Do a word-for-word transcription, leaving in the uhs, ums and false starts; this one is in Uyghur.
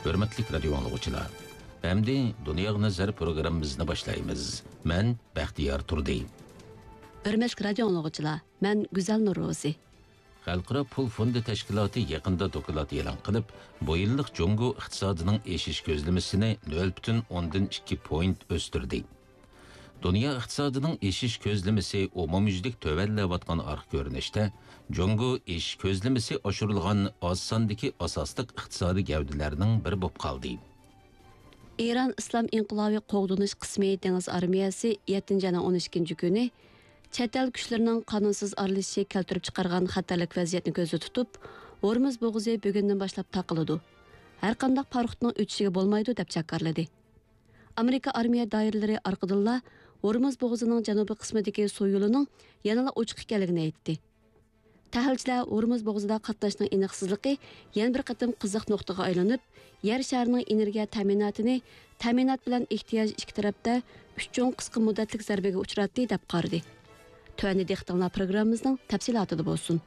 ھۆرمەتلىك رادىيو ئاڭلىغۇچىلار، ئەمدى دۇنياغا نەزەر پروگراممىمىزنى باشلايمىز. مەن بەختىيار تۇردى. ھۆرمەتلىك رادىيو ئاڭلىغۇچىلار، مەن گۈزەل نۇرروزى. خەلقئارا پۇل فوندى تەشكىلاتى يېقىندا دوكلات ئېلان قىلىپ، بۇ يىللىق جۇڭگو ئىقتىسادىنىڭ ئېشىش كۆزلىمىسىنى نۆل پۈتۈن ئوندىن ئىككى پوينت ئۆستۈردى. دۇنيا ئىقتىسادىنىڭ ئېشىش كۆزلىمىسى ئومۇميۈزلۈك تۆۋەنلەۋاتقان ئارقا كۆرۈنۈشتە، جۇڭگو ئېشىش كۆزلىمىسى ئاشۇرۇلغان ئاز ساندىكى ئاساسلىق ئىقتىسادىي گەۋدىلەرنىڭ بىرى بولۇپ قالدى. ئىران ئىسلام ئىنقىلابى قوغدىنىش قىسمى دېڭىز ئارمىيەسى يەتتىنچى ئاينىڭ ئون ئىككىنچى كۈنى چەت ئەل كۈچلىرىنىڭ قانۇنسىز ئارىلىشىشى كەلتۈرۈپ چىقارغان خەتەرلىك ۋەزىيەتنى كۆزدە تۇتۇپ، ھورمۇز بوغۇزى بۈگۈندىن باشلاپ تاقىلىدۇ، ھەرقانداق پاراخوتنىڭ ئۆتۈشىگە بولمايدۇ، دەپ جاكارلىدى. ئامېرىكا ئارمىيە دائىرىلىرى ئارقىدىنلا ھورمۇز بوغۇزىنىڭ جەنۇبىي قىسمىدىكى سۇ يولىنىڭ يەنىلا ئوچۇق ئىكەنلىكىنى ئېيتتى. تەھلىلچىلەر ھورمۇز بوغۇزىدا قاتناشنىڭ ئېنىقسىزلىقى يەنە بىر قېتىم قىزىق نۇقتىغا ئايلىنىپ، يەر شارىنىڭ ئېنېرگىيە تەمىناتىنى تەمىنات بىلەن ئېھتىياج ئىككى تەرەپتە ئۈچ چوڭ قىسقا مۇددەتلىك زەربىگە ئۇچراتتى، دەپ قارىدى. تۆۋەندە دىققىتىڭلار پروگراممىمىزنىڭ تەپسىلاتىدا بولسۇن.